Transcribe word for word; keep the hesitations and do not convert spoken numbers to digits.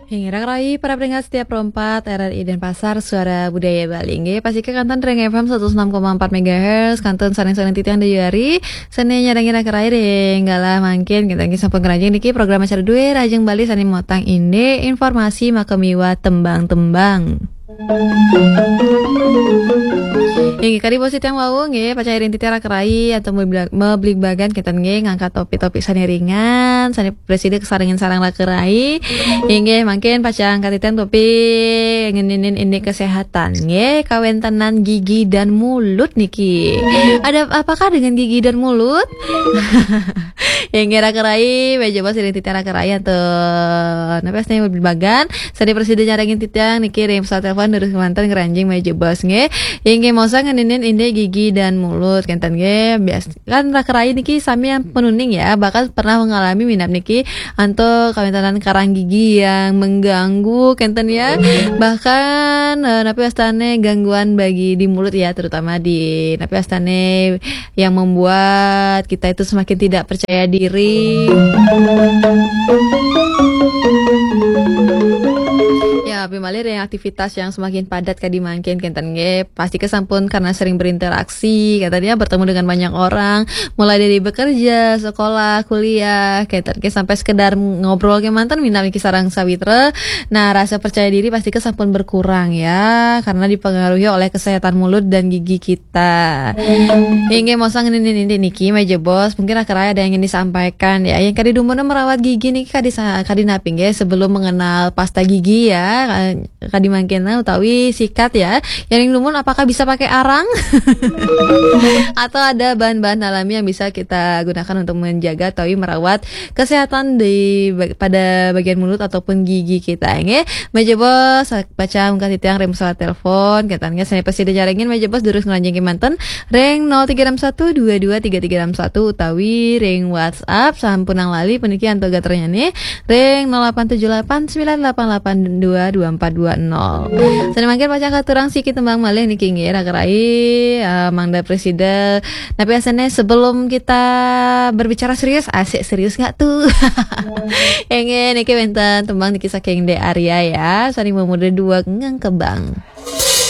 Inggih, raka rai para pendengar setia Pro empat R R I Denpasar, Suara Budaya Bali. Inggih, pastika kantun ring F M seratus enam koma empat megahertz, kantun sareng-sareng titiang Dayu Ari, sane nyarengin raka rai ring galah mangkin, kita nggih sampun ngranjing niki program acara Due Rahajeng Bali sane motang indik informasi makamiwah tembang-tembang. Inggih, kadi basa titiang wau nggih, pacang ring titiang raka rai antuk meblig-, mebligbagan kenten nggih, ngangkat topik-topik sane ringan, sane prasida kasarengin sareng raka rai. Inggih, mangkin pacang katiang topik ngeninin indik kesehatan nggih, kawentenan gigi dan mulut niki. Ada apakah dengan gigi dan mulut? Inggih, raka rai, menawi jebos ring titiang raka rai antuk napi astane mebligbagan, sane prasida nyarengin titiang niki ring pesawat telepon durus kemanten ngranjing menawi jebos nggih. Inggih, mosang ngeninin indik gigi dan mulut kenten nggih. Bias-, kan raka rai niki sami ampun uning ya, bahkan pernah mengalami minab niki antuk kawentenan karang gigi yang mengganggu kenten ya. Bahkan, eh, napi astane gangguan bagi di mulut ya, terutama di napi astane yang membuat kita itu semakin tidak percaya diri. Ya, api malih ring aktivitas yang semakin padat kadi mangkin kenten nggih, pastika sampun karena sering berinteraksi, kenten ya, bertemu dengan banyak orang, mulai dari bekerja, sekolah, kuliah, kenten nggih, sampai sekedar ngobrol kemanten minab niki sareng sawitra. Nah, rasa percaya diri pastika sampun berkurang ya, karena dipengaruhi oleh kesehatan mulut dan gigi kita. Inggih, mosang ngeninin indik niki menawi jebos, mungkin raka rai ada yang ingin disampaikan ya. Yang kadi dumun merawat gigi niki kadi sa-, kadi napi nggih, sebelum mengenal pasta gigi ya, kadi mangkin utawi sikat ya. Yang ring dumun apakah bisa pakai arang? Atau ada bahan-bahan alami yang bisa kita gunakan untuk menjaga utawi merawat kesehatan di bag-, pada bagian mulut ataupun gigi kita nggih. Menawi jebos pacang ungkat titiang ring pesawat telepon, kenten nggih, sane prasida nyarengin menawi jebos durus ngranjing kemanten ring nol tiga enam satu dua dua tiga tiga enam satu utawi ring WhatsApp, sampunang lali puniki antuk gatranyane ring nol delapan tujuh delapan sembilan delapan delapan dua dua empat dua nol. Sane mangkin pacang katurang siki tembang malih niki nggih, raka rai, eh, mangda prasida. Tapi asane sebelum kita berbicara serius, asik serius nggak tuh? Inggih, niki wenten tembang niki saking Dek Arya ya, sane mamuda dua Ngengkebang.